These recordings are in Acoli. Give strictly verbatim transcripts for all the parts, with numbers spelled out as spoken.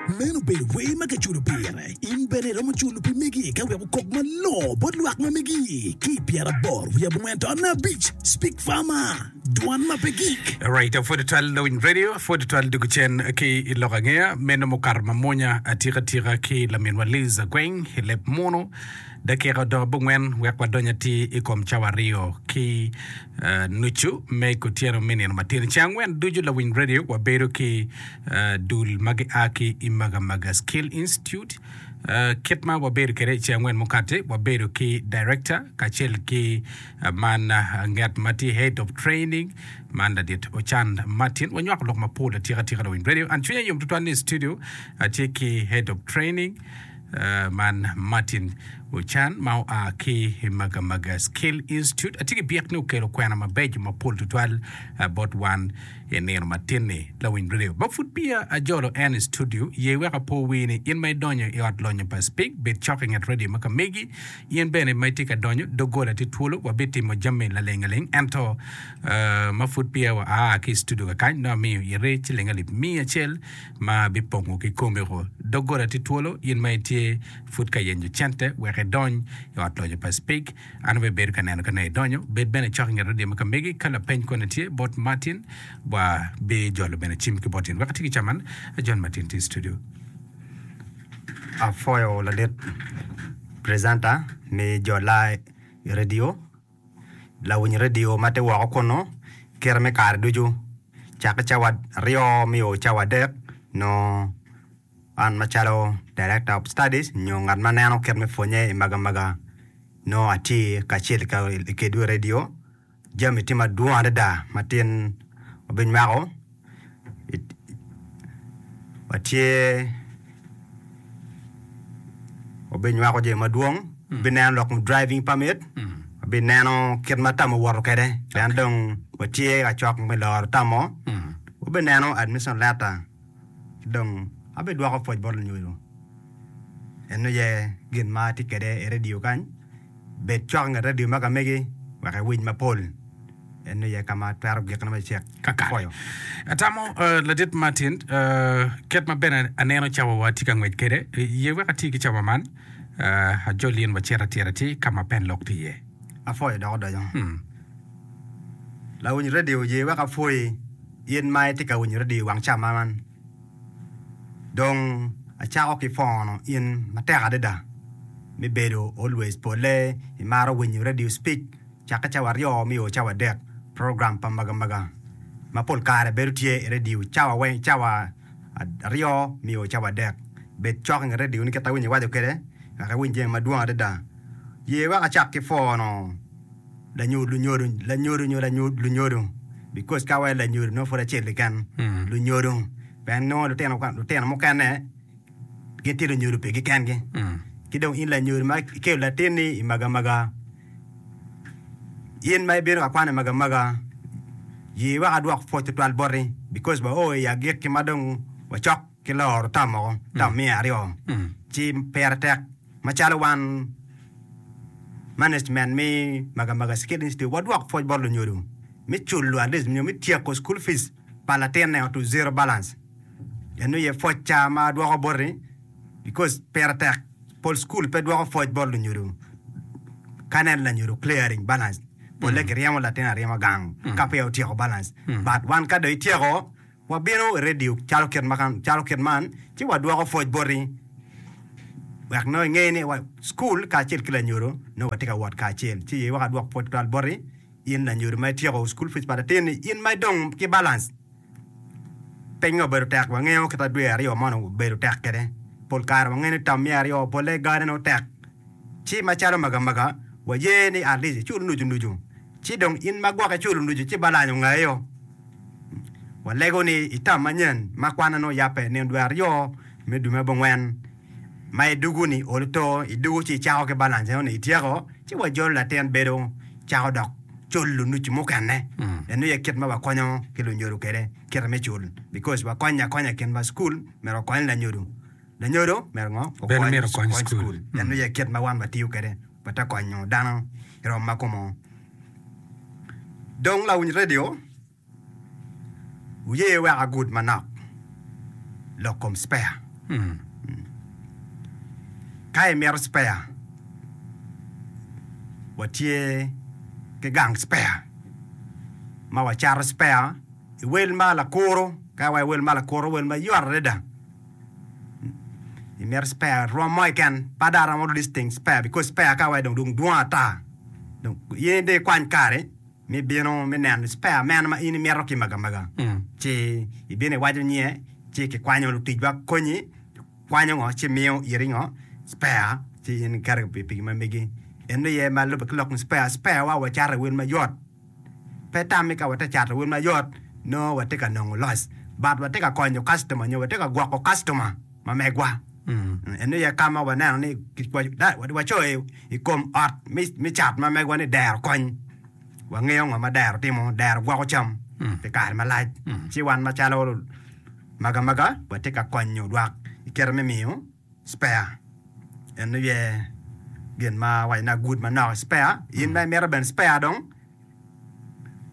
Meno obedo wer ma kiculo pire. In bene iromo culo pi megi ka wek okok malongo bot lwak ma megi. Ki i pyeraboro wiye abongwen taun abic, Speak Farmer, dwan ma pe gik. Right, apwodo twal Lawiny Radio, apwodo twal dugu cen ki i lok angeya meno mukato mamwonya atika tika ki laminwa Liz Agweng i leb munu. Dakika odong abongwen wek wadony atir i kom cawa aryo ki uh, nucu me kutyeno me nino matin. Ceng angwen ducu Lawiny Radio wabedo ki uh, dul ma gia ki i Magamaga Skill Institute. Uh, kit ma wabedo kwede i ceng angwen mukati, wabedo ki director kacel ki uh, man uh, ngat ma tye head of training man ladit Ochan Martin. Wanywako lok mapol atika tika Lawiny Radio. An cwinya yom tutwal ni i studio atye ki head of training uh, man Martin Ochan ma oa ki i Magamaga Skill Institute. Atye ki byek ni okelo kwena mabeco mapol tutwal uh, bot wan i nino matin-ni Lawiny Radio. Ma pud peya ajolo en i studio, ye wek apo wi ni in ma idonyo i ot lonyo pa Speak, bed cok i nget radio ma ka megi. In bene ma itye ka donyo, doggola tye twolo, wabitimo jami laleng aleng. Ento uh, ma pud peya wa aa ki i studio kakany, nongo amiyo ite ciling alip miya acel ma bipongo ki komiko. Doggola tye twolo, in ma itye pud ka yenyo cente wek idony i ot lonyo pa Speak. An abibedo ka neno ka nongo idonyo. Bed bene cok i nget radio ma ka megi. Ka lapeny kone tye bot Martin, wa bijolo bene cim ki bot in. Wek ati ki caman, John Martin tye i studio. Apwoyo ladit presenter me jola i radio lawiny radio ma tye woko kunu kite me kare ducu cakke cawa aryo me o cawa adek nongo an macalo director of studies nyo ngat ma neno kit me pwonye i Magamaga nongo atye kacel kedwu i radio jami tye madwong adada ma tin wabinywako watye wabinywako jami madwong wabineno lok kom driving permit wabineno kit ma tam owoto kwede pien dong watye ka cok me loro tammo wabineno admission letter ki dong abidwoko pwoc bot lunyodo en aye gin ma atye kwede i radio kany bed cok i nget radio ma ka megi wek iwiny mapol en aye ka ma twero gikone macek Kakare. pwoyo. Atamo uh, ladit Martin uh, kit ma bene aneno cawa wa tye ka ngwec kwede ye wek ati ki cawa man uh, ajol in wacit atir atir ka ma pen lok tye iye. Apwoyo dok odoco. Hmm. Lawiny radio ye wek apwoyi in ma itye ka winyo radio wang ca man. Dong acako ki pwono in matek adada me bedo always pole imaro winyo radio speak cakke cawa aryo me o cawa adek program pa Magamaga ma pol kare bedo tye i radio cawa weng cawa aryo me o cawa adek bed cok i nget radio ni kit awinyo iwaco kwede wek iwiny jami madwong adada ye wek acak ki pwono lanyodo lunyodo lanyodo nyo lunyodo because ka waco lanyodo nongo pud acel keken lunyodo pien nongo lutino lutino mukene gitye lunyodo pigi kengi ki dong in lanyodo ma ikelo latinni i Magamaga in ma ibino ka kwano i Magamaga ye wek adwok pwoc tutwal boti because wao i agikki ma dong wacok ki loro tam woko tam miya aryo ci pire tek macalo wan management me Magamaga Skill Institute wadwok pwoc bot lunyodo me culo at least nyo me tyeko school fees pa latinne to zero balance eno ye pwoc ca ma adwoko boti because pire tek pol school pe dwoko pwoc bot lunyodo ka neno lanyodo clearing balance pole kiryemo latin aryema gang ka peya otyeko balance but wan ka dong ityeko wabino i radio calo kit ma calo kit man ci wadwoko pwoc boti wek nongo inge ni wa school kacel ki lanyodo nongo watye ka wot kacel ci ye wek adwok pwoc tutwal boti in lanyodo ma ityeko school fees pa latinni in ma idong ki balance pinye obedo tek wangeyo kit dwe aryo man obedo tek kwede pol kare wangeyo ni tam miya aryo pole gane nongo tek ci macalo Magamaga waye ni at least icul nucu nucu ci dong in ma gwok iculo nucu ci balany ongayo walego ni i tam manyen ma kwana nongo yabbe nino dwe aryo me dwe me abongwen ma idugu ni olo to idugu ci icako ki balance eno ni ityeko ci wajolo latin bedo cako dok culo nucu mukene eno ye kit ma wakonyo ki lunyodo kwede kite me cul because wakonyo akonya i kin ma school myero okony lanyodo lanyodo myero ngo Bene myero okony school. eno ye kit ma wan watiyo kwede wate konyo dano i rom ma kumo dong lawiny radio wuye wek agud manok lok kom spare Ka imito spare, watye ki gang spare ma wacato spare i wel ma lakuru, ka wa i wel ma lakuru wel mayot adada. Imito spare rwom mo keken, pe dong aromo listing spare because spare ka wa dong dong dwong ata. Dong in dong ikwany kare me bino me neno spare meno ma in imito ki magamaga. Ci ibino iwaco nyinge, ci kikwanyo luticwa konyi, kwanyo ngo ci miyo iri ngo spare ci in iketo i pikipiki ma megi. En aye ma lubbe ki lok me spare, spare wa wacato i wel mayot. Pe tammi ka watye ka cato wel mayot nongo watye ka nongo loss but watye ka konyo customer nyo watye ka gwoko customer ma megwa. En aye ka ma waneno ni wacoyo i kom ot me cat ma megwa ni dero kony. Wangeyo ngo ma dero timo, dero gwoko cam pi kare malac. Ci wan macalo magamaga watye ka konyo lwak i kite me miyo spare. En aye gin ma awaco ni agud manok i spare. In ma imito bene spare dong,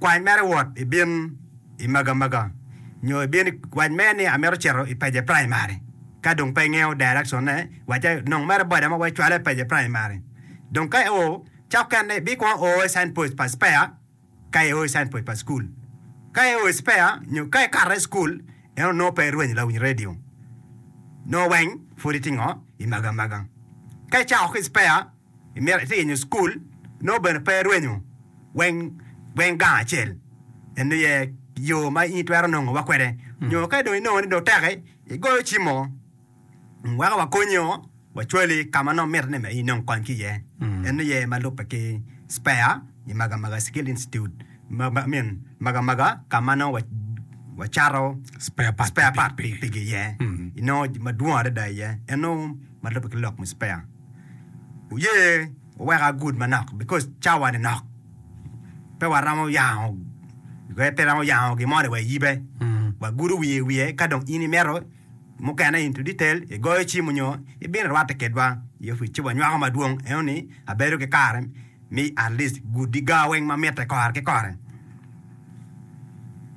kwany mere wot ibin i magamaga nyo ibin wac mere ni amito cito i Pece Primary. Ka dong pe ingeyo direction ne, wacce nong mere boda mo wek icwale i Pece Primary. Dong ka io, ca okene ibikwongo o i sign post pa spare ka io i sign post pa cukul. Ka io i spare nyo ka ikato i cukul, en onongo pe irwenyo lawiny radio. Nongo weng pud itye ngo i magamaga. Ka icako ki spare, imito itye yenyo cukul, nongo bene pe irwenyo weng weng gang acel. En aye yo ma in itwero nongowa kwede. Nyo ka dong inongo ni dong teki, igoyo cim mo, weko wakonyo, wacwali ka ma nongo mitte ni in inong kony ki iye. En aye ma lubbe ki spare i Magamaga Skill Institute, ma, ma, I mean, Magamaga ka ma nongo wacato Spare part spare part pikipiki iye. Inongo madwong adada iye. En nongo ma lubbe ki lok me spare. Oye oweko agud manok because cawa ni nok. Pe waromo yango pe romo yango gin mo ni wa iyibe. Wagudo wiye wiye ka dong in imito mukene into detail igoyo cim nyo ibino irwatte kedwa i opic ci wanywako madwong eno ni abedo ki kare mi at least gudi ga weng ma mitte kore ki kore.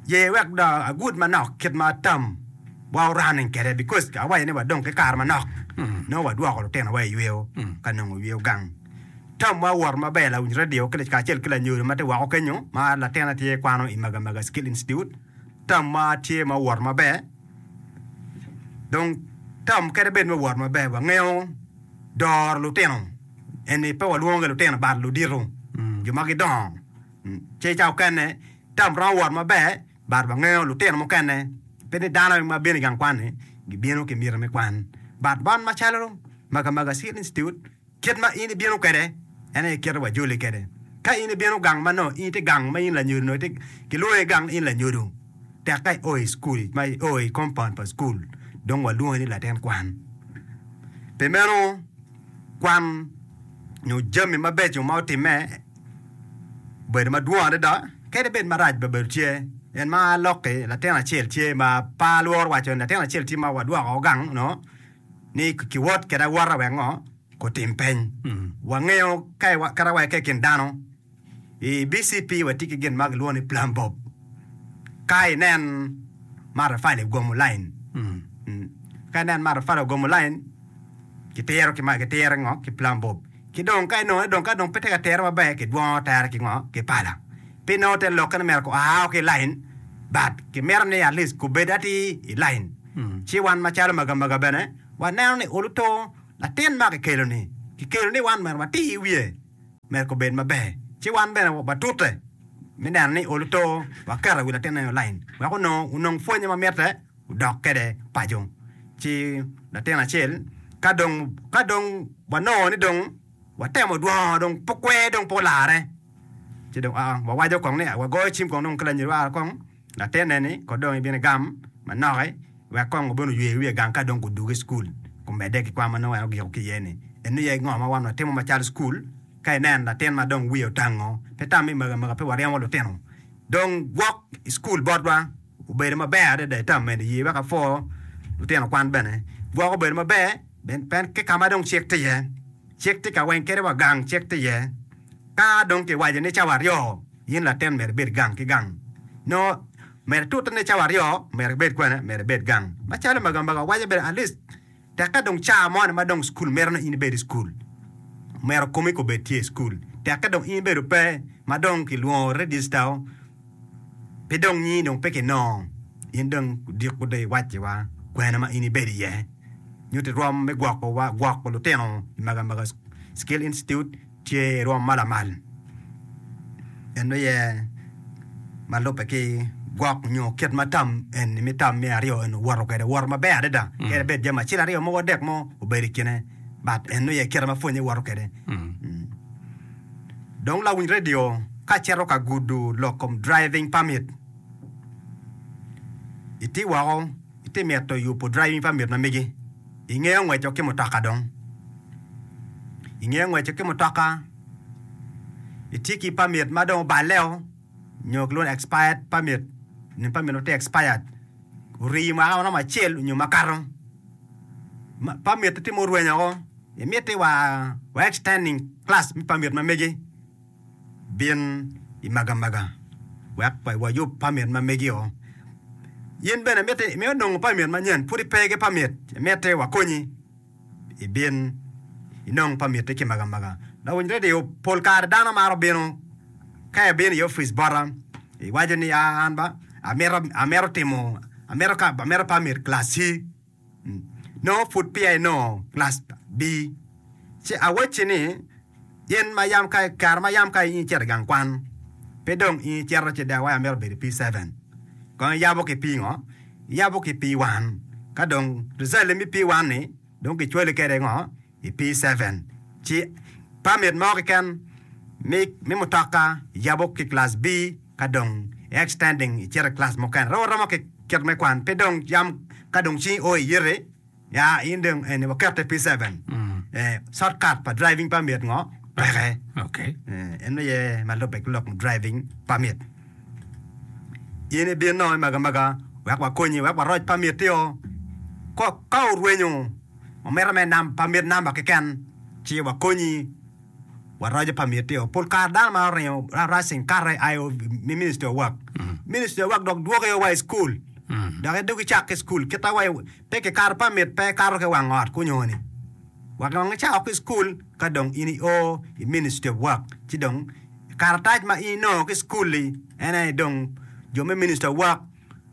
Ye wek dong agud manok kit ma tam wa running kwede because awaco ni wadong ki kare manok nongo wadwoko lutinowa i yweyo ka nongo yweyo gang. Tam wa owoto maber lawiny radio kacel ki lanyodo ma tye woko kenyo ma latinne tye kwano i Magamaga Skill Institute. Tam wa tye ma owoto maber. Dong tam kadi bed me owot maber wangeyo doro lutino eni pe walwongo ki lutino but ludito jo ma gidongo. Ci ca okene tam romo wot maber but wangeyo lutino mukene pe ni dano ma bino i gang kwan-ni gibino ki miti me kwan but wan macalo Magamaga Skill Institute kit ma in ibino kwede en aye kite wajoli kwede. Ka in ibino gang ma nongo in itye gang ma in lanyodo nongo itye kilwongi gang ni in lanyodo tek ka io i cukul ma io i compound pa cukul dong walwongi ni latin kwan. Pi meno kwan nyo jami mabeco ma otimme obedo madwong adada kadi bed marac bene obedo tye en ma alokki latin acel tye ma pe alworo waco ni latin acel tye ma wadwoko gang no ni kiwot kwede awota wek ngo kutim peny. Wangeyo ka kadi wa ki i kin dano i B C P watye ki gin ma kilwongo ni plumb bob. Ka inen matafali ogomo line, ka inen matafali ogomo line kitiro ki kitiro ngo ki plumb bob. Ki dong ka inongo ni dong ka dong pe tye ka tire maber kidwongo tere ki ngo ki pala. Pi nongo te lokke ni myero oa ki i line but kimito ni at least kubed atir i line. Ci wan macalo magamaga bene waneno ni oluto latin ma kikelo ni kikelo ni wan myero watir i wiye myero kubed maber. Ci wan bene watute me neno ni oluto waketo wi latin eno i line wek onongo onong pwonye ma mitte odok kwede paco. Ci latin acel ka dong ka dong wanongo ni dong watemo dwongo dong pe kwer dong pe olare ci dong aa wawaco kong ni wagoyo cim kong dong ki lanyodo aa kong latinne ni ko dong ibino igam manok wek kong obin oywe wiye gang ka dong gudwogo i cukul gumedde ki kwan ma nongo en ogiko ki iye ni. Eno aye ngo ma wan watimo macalo cukul ka inen latin ma dong wiye otango pe tam ni magamaga pe waryemo lutino dong gwok i cukul botwa obedo maber adada i tam meno ye wek apwo lutino kwan bene gwok obedo maber pen ki ka ma dong cik tye iye cik tye ka weng kadi wa gang cik tye iye ka dong kiwaco ni cawa aryo in latin myero ibed gang ki gang nongo myero itute ni cawa aryo myero ibed kwene myero ibed gang macalo magamaga waco bene at least Tekke dong ca moni ma dong cukul mito ni in ibed i cukul, myero komi kobed tye i cukul. Tekke dong in ibedo pe ma dong kilwongo regista-o, pe dong nyingi dong pe kinongo, in dong odiko dong iwacciwa kwena ma in ibedo iye. Nyutti rwom me gwoko wa gwoko lutino i Magamaga Skill Institute tye i rwom ma lamal. En aye ma lubbe ki gwok nyo kit ma tam eni me tam me aryo eni owoto kwede owoto maber adada kadi bed jami acel aryo mogo adek mo obedo i kine but en aye kite ma pwonye woto kwede. Dong lawiny redio ka acito ka gudo lok kom driving permit iti woko iti mito yubo driving permit ma megi ingeyo ngweco ki mutoka dong ingeyo ngweco ki mutoka itye ki permit ma dong oballe-o nyo kilwongo ni expired permit nyo permit ma tye expired ori mwaka maromo acel nyo makato permit tye ma orwenyo woko imiti wa extending class me permit ma megi bin i Magamaga wek wayub permit ma megi-o. In bene miti imito nongo permit manyen pud ipe ki permit imiti wakonyi ibin inong permit-ti ki i Magamaga. Lawiny redio pol kare dano maro bino ka ibino i opic bota iwaco ni aa an ba amito amito timo amito amito permit class C nongo pud peya inongo class B ci awacci ni in ma yam ka kare ma yam ka in icito i gang kwan pe dong in icito ci dong iwaco amito bedo i P seven kong iyabo ki P ngo iyabo ki P one ka dong result me P one ni dong kicwali kwede ngo i P seven ci permit mo keken me mutoka iyabo ki class B ka dong i extending icito i class mukene romo aroma ki kit me kwan pe dong yam ka dong cingi o iyiti ya in dong eni wakete P seven eh, short cut pa driving permit ngo peke. Okay. Eh, en aye ma lubbe ki lok driving permit. In ibin nongo i Magamaga wek wakonyi wek waroc permit-ti-o. Ko ka orwenyo omito me nam permit namba keken ci wakonyi waroco permit-ti-o. Pol kare dano ma oringo racing kate ayo i Ministry of Work. Ministry of Work dok dwoki wa i school. Dok idwogi icak ki school kita wa pe kikato permit pe ikato ki wang ot kunyo ni. Wek dong icako ki school ka dong in io i Ministry of Work ci dong karatac ma in inongo ki school-li en aye dong jo me Ministry of Work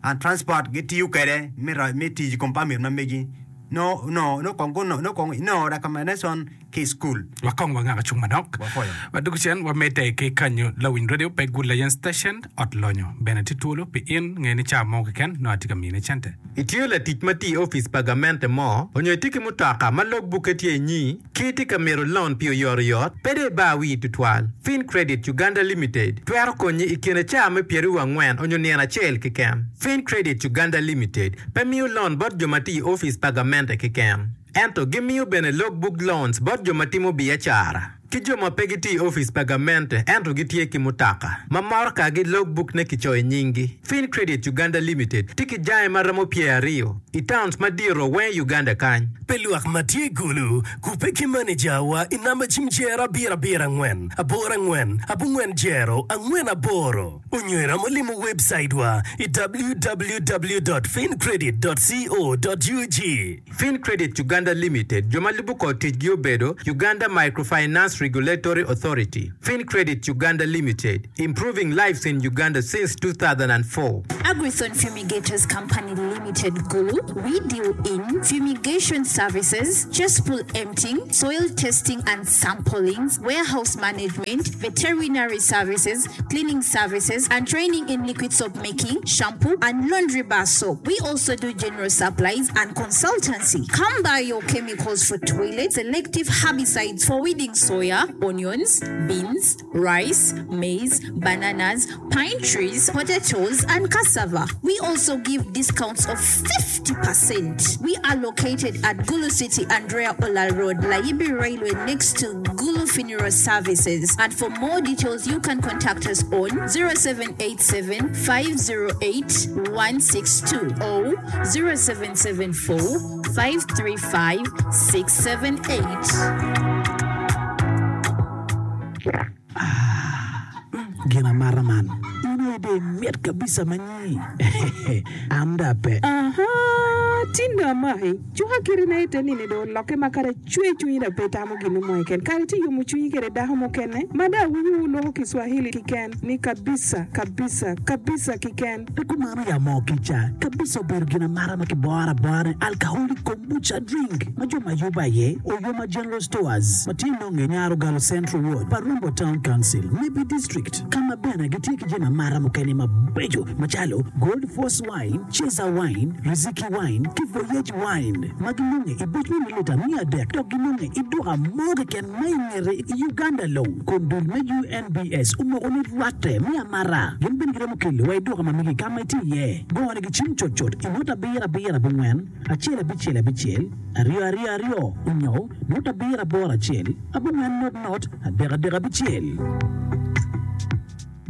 and Transport gitiyo kwede me ro- me tic i kom permit ma megi nongo nongo nongo kong gunongo nongo kong inongo recommendation ki i school. Wakong wangako cung manok. Wapwoyo. Wadwogo cen wamedde ki kanyo lawiny radio pe Good Layen Station ot lonyo bene tye twolo pi in nge ni ca mo keken nongo atye ka mine cente. Itye latic ma tye i opic pa gamente mo onyo itye ki mutoka ma log bukke tye inyi ki itye ka mito loan pi oyotoyot, pe dong ibar wii tutwal. Fin Credit Uganda Limited twero konyi i kine caa me pyeraryo angwen onyo nino acel keken. Fin Credit Uganda Limited pe miyo loan bot jo ma tye i opic pa gamente keken, ento gimiyo bene log book loans bot jo ma timo biacara ki jo ma pe gitye i opic pa gamente ento gitye ki mutoka ma motokagi log book ne kicoyo i nyinggi. Fin Credit Uganda Limited tye ki jange ma romo pyeraryo i towns madito weng i Uganda kany. Pi lwak ma tye i Gulu, kubbe ki manejawa i namba cim jero abiro abiro angwen aboro angwen abongwen jero angwen aboro onyo iromo limo webcaitwa i www dot fincredit dot co dot ug. Fin Credit Uganda Limited jo ma lubo kor ticgi obedo Uganda Microfinance Regulatory Authority, Fin Credit Uganda Limited, improving lives in Uganda since two thousand and four. Agrithon Fumigators Company Limited Gulu, we deal in fumigation services, cesspool emptying, soil testing and samplings, warehouse management, veterinary services, cleaning services, and training in liquid soap making, shampoo, and laundry bar soap. We also do general supplies and consultancy. Come buy your chemicals for toilets, selective herbicides for weeding soya, onions, beans, rice, maize, bananas, pine trees, potatoes, and cassava. We also give discounts of fifty percent. We are located at Gulu City, Andrea Ola Road, Layibi Railway, next to Gulu Funeral Services. And for more details, you can contact us on zero seven eight seven, five zero eight, one six two or zero seven seven four, five three five, six seven eight. Gin amata man, in aye dong imit kabisa ma nyi. An dong ape. Aha, tin dong amaki, cuka kiti na ite nini dong olokke ma kadi acwe cwinyi dong pe itamo gin mo keken. Kadi itye yomo cwinyi kwede dako mukene ma dong awinyo wu loko Kiswahili kiken ni kabisa, kabisa, kabisa kiken. Pe kumano ya moo kica, kabisa obedo gin amata ma kiboro abora ni alcoholic kombucha drink ma jo ma yubo aye Oyoma General Stores ma tye nonge i Nyarogalo Central Ward, Parumbo Town Council, Nebbi District, ka ma bene gitye ki jami amata mukene mabeco macalo Gold Force Wine, Cesar Wine, Riziki Wine ki Voyage Wine ma ginonge i buc me mililita miya adek dok ginonge i duka mo keken ma i ngete i Uganda long kun dul me U N B S omoko ni rwatte me amata. Gin bene giromo kelo wa i duka ma megi ka ma itye iye. Gonigi cim cutcut i not abiro abiro abongwen acel abicel abicel aryo aryo aryo onyo not abiro aboro acel abongwen not not adek adek abicel.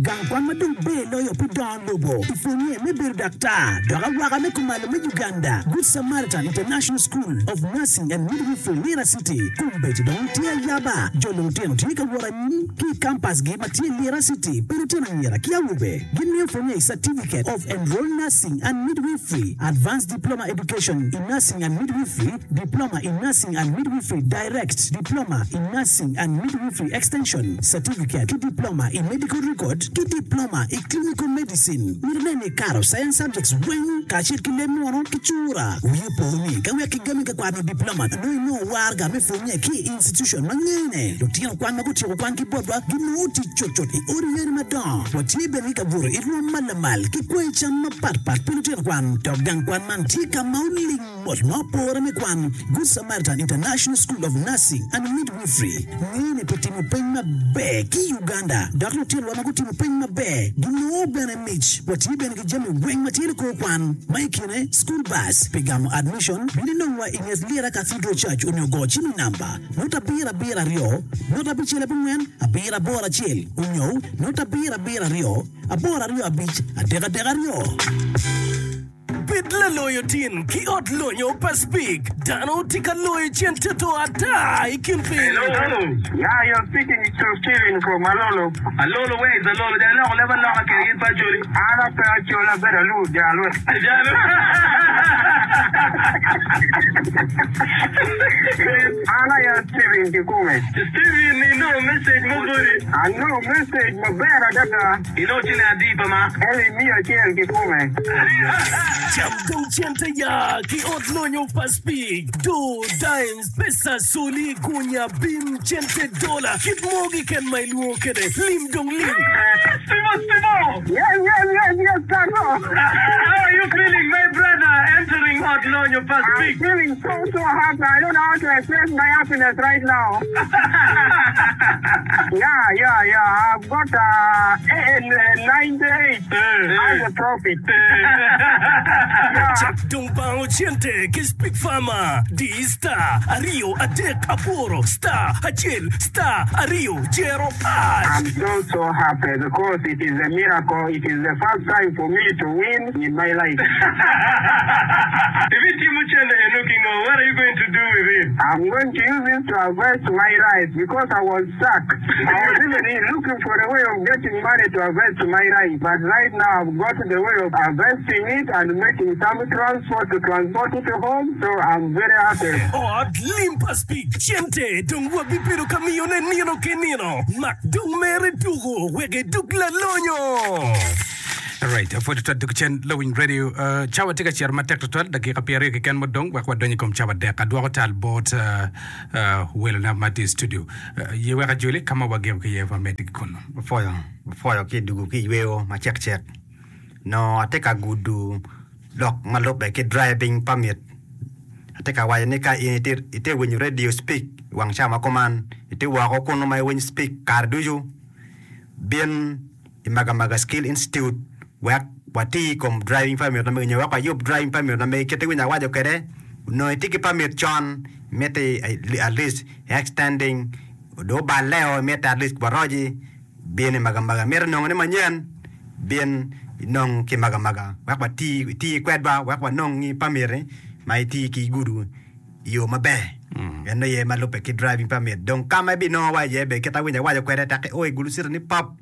Gang kwan ma dong ber loyo pi dongo lobo i pwonye me bedo daktar dok awaka me kumalo me Uganda, Good Samaritan International School of Nursing and Midwifery, Lira City, kombeddi dong tye ayaba. Jolo lutino tye ka wot anyim ki i kampasgi ma tye Lira City pi lutino anyira ki awobe. Gimiyo pwonye i Certificate of Enrolled Nursing and Midwifery, Advanced Diploma Education in Nursing and Midwifery, Diploma in Nursing and Midwifery Direct, Diploma in Nursing and Midwifery Extension, Certificate ki Diploma in Medical Record ki Diploma i Clinical Medicine. Myero inen ni ikato Science Subjects weng kacel ki leb muno ki cura. Wi opo ni ka wek kigami ka kwano diploma nongo inongo waraga me pwonye ki i institution ma ngene. Lutino kwan ma gutyeko kwan ki botwa ginongo tic cutcut i odi yadi madongo. Watye bene ki kabuto i rwom ma lamal ki kweyo cam mapatpat pi lutino kwan. Dok gang kwan man tye ka ma oling mot ma opore me kwan. Good Samaritan International School of Nursing and Midwifery ngene pi timo peny maber ki i Uganda dok lutinowa ma gutimo peny maber ginongo bene mic. Watye bene ki jami weng ma tye likor kwan ma i kine school bus pi gamo admission bino inongwa i nget Lira Cathedral Church onyo go cim i namba not abiro abiro aryo not abicel abongwen abiro aboro acel onyo not abiro abiro aryo aboro aryo abic adek adek aryo. Bed laloyo tin ki ot lonyo pa Speke. Dano tye ka loyo cente to ata i kin piny. Yeah, you're speaking to Steven from Alolo. Alolo, where is Alolo? Jang loko leba loka kede gin pa Acholi. An ape Acholi abedo alu jalo. Jalo. An aye Steven kikume. Steven, inongo message mo boti. Anongo message maber adada. Inongo ciling adi pa ma? Eli miya acel kikume. Cam dong cente ya ki ot lonyo pa Speke. Do, dimes, pesa, soli, gunya, bim, cente, dola, kit mo keken ma ilwongo kwede. Lim dong lim. Stimo, Stimo! Yes, yes, yes, yes, Tato. How are you feeling, my brother, entering ot lonyo pa I'm Speke? feeling so, so happy. I don't know how to express my happiness right now. Yeah, yeah, yeah. I've got uh, eh, eh, ninety-eight as a profit. Yeah. Cak dong bango cente ki Speke Farmer. Di star aryo adek aboro star acel star aryo jero hash. I'm so, so happy because it is a miracle. It is the first time for me to win in my life. If it Timuchele Enukingo, what are you going to do with it? I'm going to use it to harvest my rice because I was stuck. I was even looking for a way of getting money to harvest my rice. But right now I've got the way of harvesting it and making some transport to transport it home. So I'm very happy. Ot lim pa Speke. Cente dong wabibedo ka miyone nino ki nino. Mak dong mere tuko wek idug lalonyo. Alright, pwod twal duk cen Lowiny Radio. Uh, cawa tye ka cito matek tutwal, dakika pyeraryo keken mudong wek wadony i kom cawa adek. Adwoko tal bot uh, uh, welona ma tye i studio. Uh, ye wek ajoli ka ma wagiko ki iye wamedde ki kunu. Opwoyo, opwoyo ki dugu ki yweo macek cek. No atye ka gudu lok ma lubbe ki driving permit. Atye ka waco ni ka in itye itye winyo radio Speke i wang cawa ma kuman, itye woko kunu ma iwinyo Speke kare ducu, bin i Magamaga Skill Institute wek wati i kom driving permit na megi nyo wek wayub driving permit na megi kit iwinyo awaco kwede onongo itye ki permit con miti at least extending do obaleo miti at least waroci bin i Magamaga mito nongo ni manyen bin inong ki Magamaga wek wati iti kwedwa wek wanong permit ma iti ki gudu i yo maber en aye ma lubbe ki driving permit dong ka ma ibinongo wa iye be kit awinyo awaco kwede tek i o i Gulu City ni pop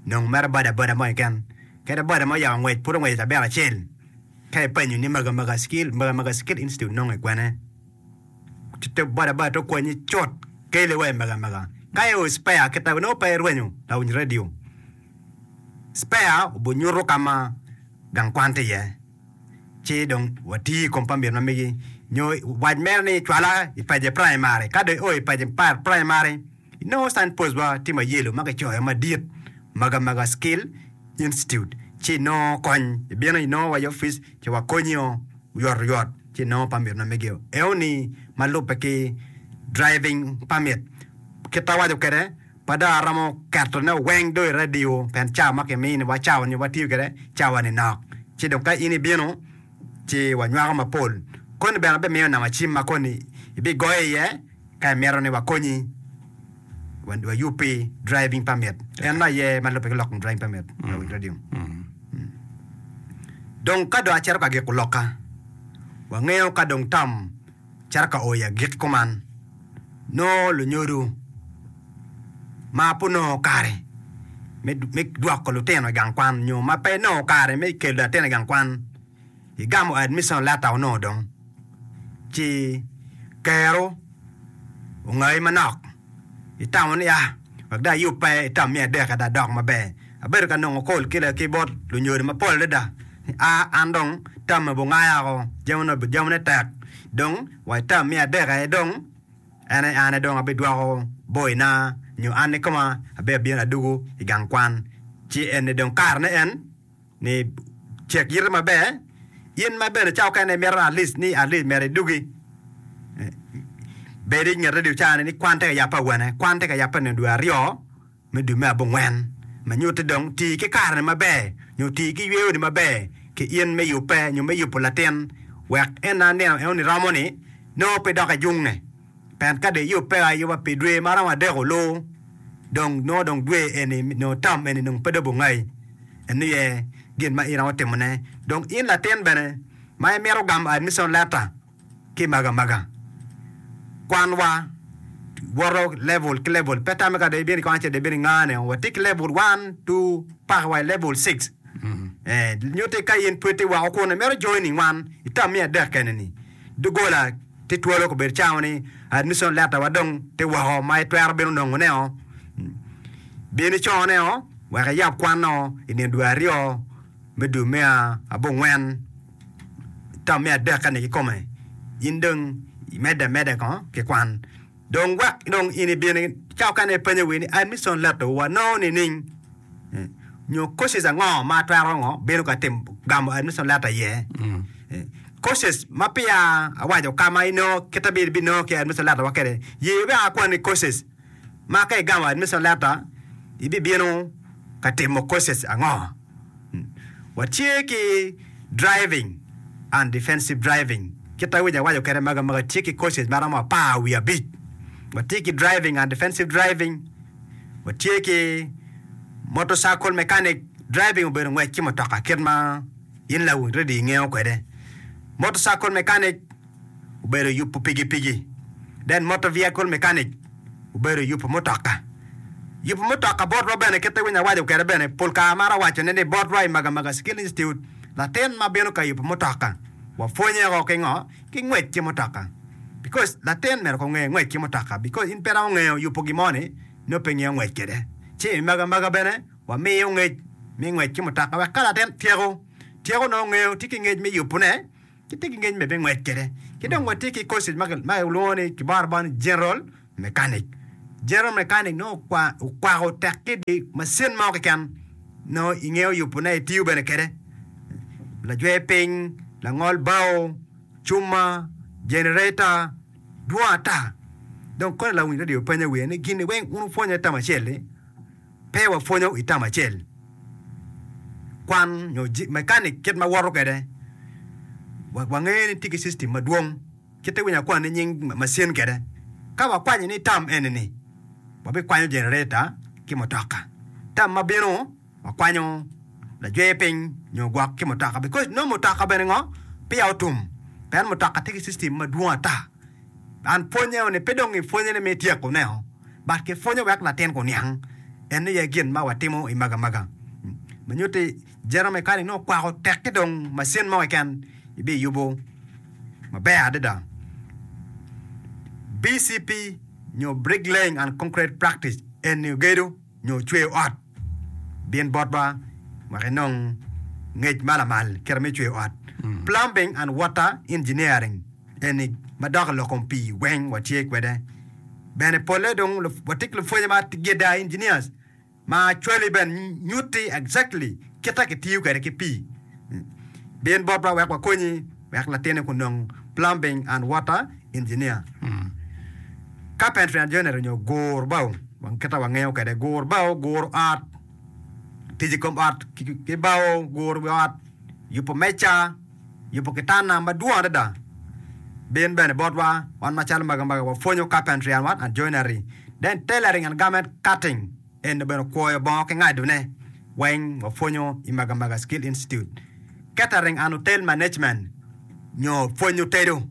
nong mere boda boda mo keken kede boda mo oyabo ngwec pud ongweco cabit acel Ka ipenyo ni Magamaga Skill, Magamaga Skill Institute nonge kwene? Ci te boda boda to konyi cut kele wa i Magamaga. Ka i o spare kita nongo pe irwenyo lawiny radio. Spare obunyuto ka ma gang kwan tye iye. Ci dong wati i kom permit ma megi nyo wac mere ni cwala i Paje Primary. Ka dong io i Paje Primary, inongo sign post wa tye ma yelo ma kicoyo madit Magamaga Skill Institute ci inongo kony. Ibino inongo wa i opic ci wakonyio oyotoyot ci inongo permit ma megio. Eoni ma lubbe ki driving permit. Kit awaco kwede pe dong aromo ketone weng dong i radio pien cawa ma kiminiwa cawa ni watiyo kwede cawa ni nok. Ci dong ka in ibino ci wanywako mapol. Koni bene abimiyo namba cim ma koni ibigoyo iye ka imito ni wakonyi wayubbi driving permit. En aye ma lubbe ki lok kom driving permit lawiny radio. Dong ka dong acito ka giko lokka, wangeyo ka dong tam cito ka o i agikki kuman, nongo lunyodo ma pe onongo kare me dwoko lutino i gang kwan nyo ma pe nongo kare me kelo latin i gang kwan, igamo admission letter onongo dong ci kero ongayi manok itamo ni ah wek dong ayubbe itam me adek dong adok maber. Abedo ka nongo call ki bot lunyodo mapol adada ni ah an dong tamme bungaya woko jamine tek dong wa itam me adek aye dong en aye an aye dong abidwoko boyna nyo an kikoma abino adugo i gang kwan ci eni dong karene en ni cek yite maber in ma bene cawa okene imito at least ni at least myero idugi bed i nget radio caa ni kwan tye ka yabbe awene kwan tye ka yabbe nino dwe aryo me dwe me abongwen ma nyutti dong ti ki kareni maber nyo ti ki yweyoni maber ki in me yubbe nyo me yubo latin wek en nino enoni romo ni nongo pe dok ejunge pien ka dong iyubbe ayuba pi dwe ma romo adek olu dong nongo dong dwe eni nyo tam eni dong pe dong obungayi en aye gin ma in iromo timone dong in latin bene ma imito gamo admission letter ki magamaga kwanwa woto level ki level pe tamme ka dong ibino i kwan acel dong ibino ingane watye ki level one, two paka wa i level six eh nyutti ka in pud itye woko kun imito joining wan i tam me adek kene ni doggola tye twolo obedo cawa ni admission letter wa dong tye woko ma itwero bino nongone o bin icone o wek iyab kwanno i nino dwe aryo me dwe me abongwen tam me adek-ni kikome in dong imedde ameda kong ki kwan dong wek dong in ibin ca mukene ipenyo wi ni admission letter wanongo nining nyo courses ango ma atwero ngo bino ka timo gamo admission letter iye courses ma peya awaco ka ma inongo kit ma ibinongo ki admission letter wa kwede ye wek akwani courses ma ka igamo admission letter ibibino ka timo courses ango watye ki driving and defensive driving kit ma awaco kwede magamaga tye ki courses ma romo apar wiye abic watye ki driving and defensive driving watye ki motorcycle mechanic driving obedo ngwec ki mutoka kit ma in lawiny ready ingeyo kwede motorcycle mechanic obedo yubo pikipiki then motor vehicle mechanic obedo yubo mutoka yubo mutoka botwa bene kit ma winyo awaco kwede bene pol kare amaro wacone ni botwa i Magamaga Skill Institute latin ma bino ka yubo mutoka wapwonye woko ki ngo ki ngwec ki mutoka because latin myero kong onge ngwec ki mutoka because in pe iromo ngeyo yubo gin mo ni nongo pe ingeyo ngwec kwede ci i Magamaga bene wamiyo ngec me ngwec ki mutoka wek ka latin tyeko tyeko nongo ngeyo tye ki ngec me yubone ki tye ki ngec me ngwec kwede ki dong watye ki courses ma kilwongo ni kiboro abora ni general mechanic general mechanic nongo okwako tek ki di macin mo keken nongo ingeyo yubone itiyo bene kwede lajwer piny langol bao cuma generator dwong ata dong koni lawiny radio penyo wiye ni gini weng wun wupwonyo i tam acel-li pe wapwonyo i tam acel kwan nyo mechanic kit ma woto kwede wangeyo ni tye ki system madwong kit ma iwinyo akwani nying macin kwede ka wakwanyo ni tam eni-ni wabikwanyo generator ki mutoka tam ma bino wakwanyo lajwer piny nyo gwok ki mutoka because nongo mutoka bene ngo peya otum pien mutoka tye ki system madwong ata an pwonye ni pe dong ipwonye ni me tyekone but kipwonyo wek latin kuniang en aye gin ma watimo i Magamaga ma nyutti General mechanic nongo kwako tek ki dong macin mo keken ibiyubo maber adada. B C P nyo Bricklaying and Concrete Practice eni ogedo nyo cweyo ot. Bin botwa wek inong ngec ma lamal kite me cweyo ot. Plumbing and Water Engineering eni madok i lok kom pii weng watye kwede. Bene polle dong watye ki lupwonye ma gida engineers ma cwali bene nyutti exactly kite kitiyo kwede ki pii. Bin botwa wek wakonyi wek latinni kunong plumbing and water engineer. Carpentry and joinery nyo gur bao kite wangeyo kwede gur bao, guro ot, tic i kom ot ki bao, guro wi ot, yubo meca, yubo kitanda madwong adada. Bin bene botwa wan macalo magamaga wapwonyo carpentry and what and joinery. Then tailoring and garment cutting eni bene kwoyo bongo ki ngadone weng wapwonyo i Magamaga Skill Institute. Catering and hotel management nyo pwonyo tedo.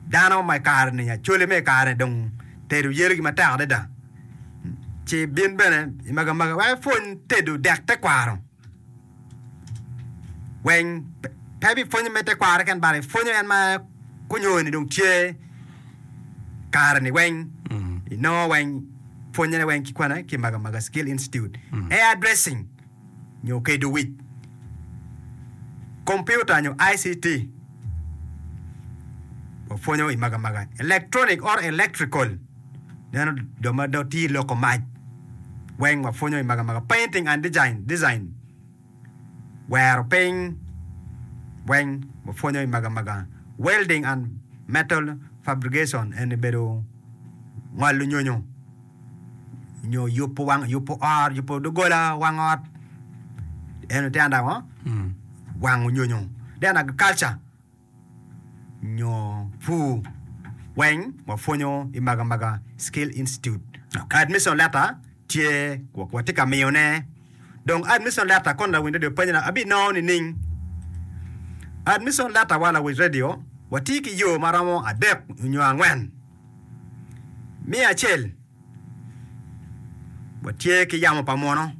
Dano ma i kare-ni, acholi me i kare-ni dong tedo yelogi matek adada. Ci bin bene i Magamaga wek ipwony tedo dek tekwaro weng pe bipwonyo me tekwaro keken but ipwonyo en ma kunyoni dong tye kare-ni weng inongo weng pwonyone weng ki kwene ki i Magamaga Skill Institute. Hair dressing nyo kedo wic, kompiuta nyo I C T wapwonyo i Magamaga, electronic or electrical neno jo ma dong tye i loko mac weng wapwonyo i Magamaga, painting and design, design wero piny weng wapwonyo i Magamaga, welding and metal fabrication eni bedo ngolo nyonyo nyo yubo wang yubo ot yubo doggola wang ot eno tye anda ngo wango nyonyo then agriculture nyo pur weng wapwonyo i Magamaga Skill Institute. Admission letter tye watye ka miyone dong admission letter kono lawiny radio penyo ni abinongo nining? Admission letter wa lawiny radio watye ki yo ma romo adek nyo angwen. Me acel, watye ki yamo pa muno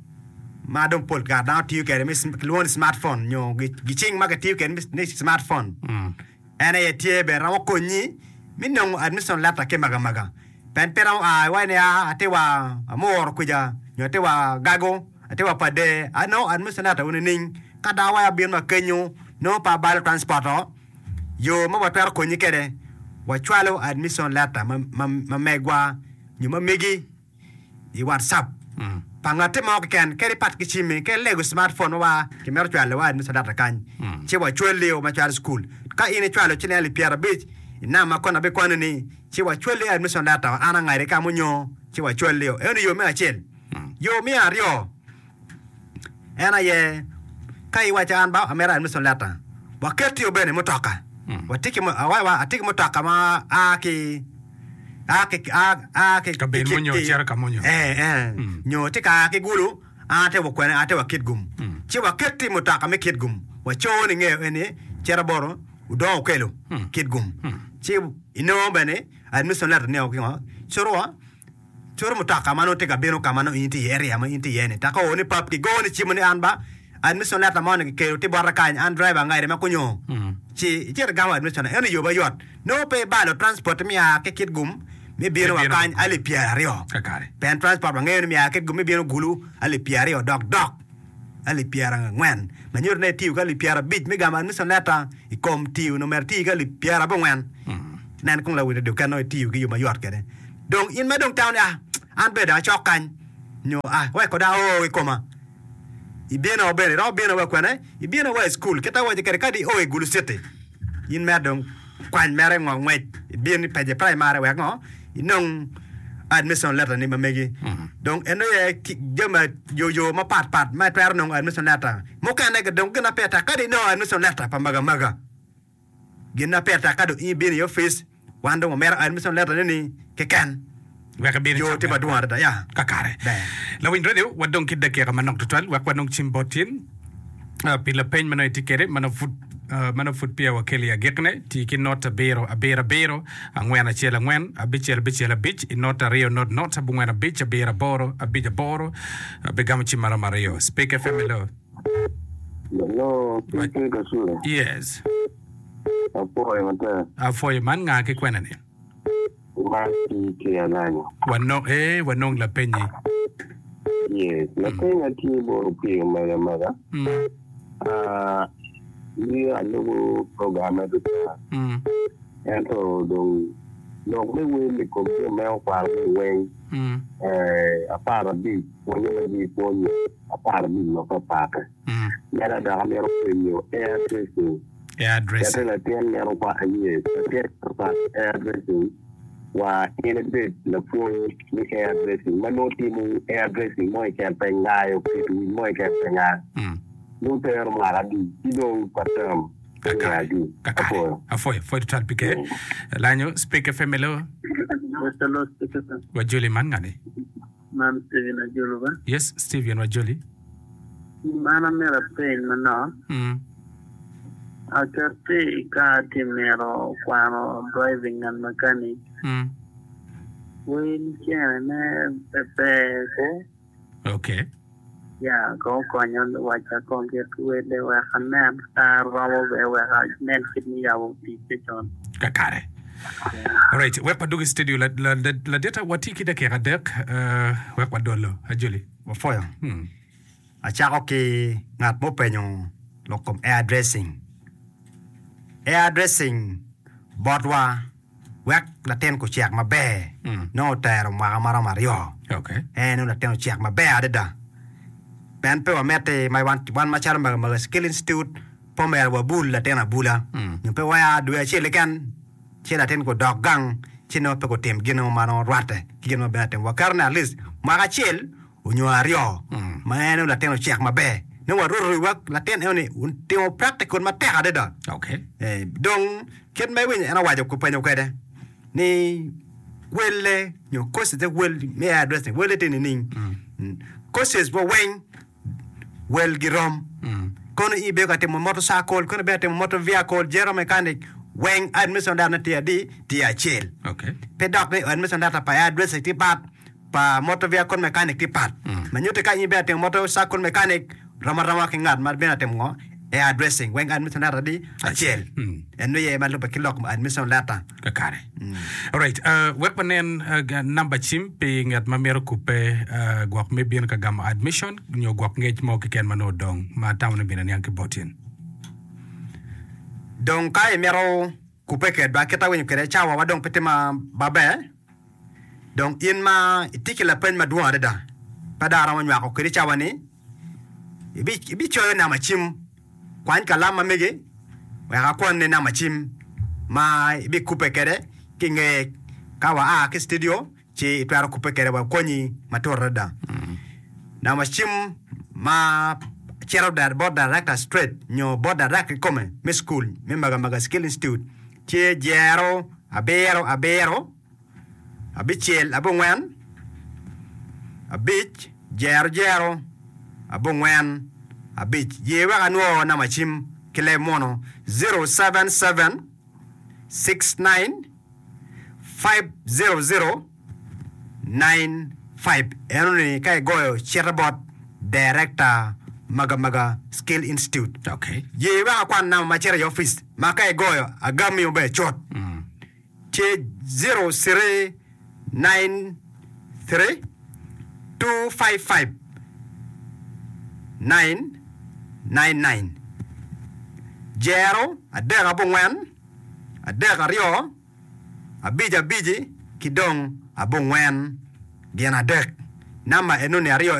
ma dong pol kare dano tiyo kwede kilwongo ni smartphone nyo gicing ma kitiyo kwede ni smartphone en aye tye bene romo konyi me nongo admission letter ki magamaga pien pe romo a iwaci ni aa atye wa Amuru kwija nyo atye wa Gago atye wa Pader anongo admission letter wu nining ka dong awaci abino wa kenyo nongo pe abalo transport o yo ma watwero konyi kwede wacwalo admission letter ma megwa nyo ma megi i WhatsApp pa ngatti mo keken kadi pat ki cimmi kadi lego smartphone ma wa kimito cwalo wa admission letter kany ci wacwali o macalo cukul ka in icwalo ciling alip pyerabic i namba ma kono abikwano ni ci wacwali admission letter an angadi ka munyo ci wacwali o eno yo me acel yo me aryo En aye, ka iwaco an ba amito admission letter, waket-ti bene i mutoka. Watye ki, awaci atye ki mutoka ma a ki a ki a ki Kabedo mo nyo cito ka mo nyo. Eh, eh, nyo tye ka a ki Gulu, an atye wa kwene, atye wa Kitgum. Ci waket-ti i mutoka me Kitgum, waco ni ngeyo eni cito bot Odongo Okello, Kitgum. Ci inongo bene admission letter ni o ki ngo, cito wa. Coro mutoka ma nongo tye ka bino ka ma nongo in itye iye, area ma in itye iye-ni. Taka oo ni pap kigo ni cimo ni an ba admission letter mo ni kikelo tye bota kany, an driver angade ma kunyo. Ci icito igamo admission eno yo mayot. Nongo pe ibalo transport me a ki Kitgum me bino wa kany alip pyeraryo. Pien transport wangeyo ni me a Kitgum me bino Gulu alip pyeraryo dok dok alip pyerangwen. Ma nyuto ni itiyo ki alip pyerabic me gamo admission letter i kom tiyo onongo myero iti ki alip pyerabongwen. Nen kong lawil radio ken nongo itiyo ki yo mayot kwede. Dong in ma dong itamo ni, 'Ah, an bene dong acok kany,' nyo 'Ah, wek kono ao i koma.' Ibino bene, iromo bino wa kwene? Ibino wa i cukul. Kit awaco kwede, kadi io i Gulu City, in mere dong kwany mere ngo ngwec ibin i Pece Primary wek ngo inong admission letter ni ma megi. Dong eno aye jami yo yo mapat pat ma itwero nongo admission letter. Mukene dong gin ma pire tek kadi inongo admission letter pa maga maga. Gin ma pire tek ka dong in ibino i opic, wan dong wamito admission letter ni keken. Wek ibin Yo icak tye mere madwong adada ya. Kakare. Ber. Lawiny radio, wadong ki dakika manok tutwal wek wanong cim bot tin ah, pi lapeny ma nongo itye kwede ma nongo pud ah, ma nongo pud peya wakelo i agikne. Ti ki not abiro abiro abiro angwen acel angwen abicel abicel abic i not aryo not not abongwen abic abiro aboro abic aboro. Abigamo cim maromo aryo. Speak F M hello. Hello, P K Kasule. Yes. Apwoyo matek. Apwoyo man nga ki kwena ni? Man P K Alanya. Wanong, eh, wanong lapenyi. Yes, lapenya tye bot Opio mega mega. Mm. Ah, ni alubo program me duka. Mm. Ento dong lok me wel i kom jo me okwano ni weng Mm. eh, apar abic pwonye ma ji pwonyo apar abic ma papat. Mm. Meda dok amito penyo hair dressing. Hair dressing. Kete latin mito kwa yes, latin mito kwano hair dressing wa in ibed lapwony me hair dressing ma nongo timo hair dressing mo keken pe ngayo keto wic mo keken pe ngayo. Mm. Nongo tero mwaka adi ci dong pa term Kakare. adi. Kakare. Apwoyo. Apwoyo. Pwoyo twatwal P K. Lanyo, Speak F M hello. Hello, Speak F M. Wajoli man ngani? Man Steven Ajolo ba? Yes, Steven Wajoli. Man amito apeny manok. Mm. Akati ka atye mito kwano driving and mechanic. Mm. Wel cene ne pe ber ko. Okay. Ya, ko konyo wacha kong kit wele wek anen ka romo be wek anen kit mi yabo tic con. Kakare. Alright, wek wadugi studio la la la, la data wati ki dakika adek uh, wek wadolo Ajoli. Wapwoyo. Hmm. Acako ki ngat mupenyo lok kom hair dressing. Hair dressing botwa wek latin kucek maber Mm. nongo otero mwaka maromo aryo. Okay. En nongo latin ocek maber adada. Pien pe wamiti ma wan, wan macalo Magamaga Skill Institute pe omyero wabul latin abula. Mm. Nyo pe waya dwe acel keken ci latin kudok gang ci nongo pe kutim gin mo ma nongo rwatte ki gin ma bene atim. Waketo ni at least mwaka acel onyo aryo Mm. ma en nongo latin ocek maber. Nongo waruto wek latin eno ni timo practical matek adada. Okay. Eh, dong kit ma iwinyo en owaco kupenyo kwede ni welle nyo courses te wel me hair dressing welle tye nining. Mm. Courses wa weng wel girom. Mm. Kono ibedo ka timo motorcycle, kono ibedo ka timo motor vehicle, general mechanic, weng admission letter tye adi tye acel. Okay. Pe dok ni admission letter pa hair dressing tye pat, pa motor vehicle mechanic tye pat. Mm. Ma nyuto ka in ibedo ka timo motorcycle mechanic rom aroma ki ngat ma bene atimo ngo hair dressing weng admission letter adi acel. Mm. En nongo ye ma lubbe ki lok admission letter. Kakare. Alright, uh, wek wanen uh, ga- namba cim pi ngat ma mito kupe uh, gwok me bino ka gamo admission nyo gwok ngec mo keken ma nongo odong ma atamo ni bino niang ki bot in. Dong ka imito kupe kedwa kit awinyo kwede cawa wa dong pe tye ma maber dong in ma itye ki lapeny madwong adada pe dong aromo nywako kwedi cawa ni ibi- ibicoyo namba cim kwany kalam ma megi wek akwanni namba cim ma ibikupe kwede ki nge ka wa a ki studio ci itwero kupe kwede wakonyi matut adada. Namba cim ma cito da- bot director straight nyo bot director kikome me school me Magamaga Skill Institute tye jero abiro abiro abicel abongwen abic jero jero abongwen abic ye wek anwo namba cim ki leb muno zero seven seven six nine five zero zero nine five eno ni ka igoyo cito bot director Magamaga Skill Institute. Okay. Ye wek akwan namba ma cito i office ma ka igoyo agami maber cut. Mm. Tye zero three nine three two five five nine nine nine jero adek abongwen adek aryo abic abici ki dong abongwen gin adek namba enoni aryo.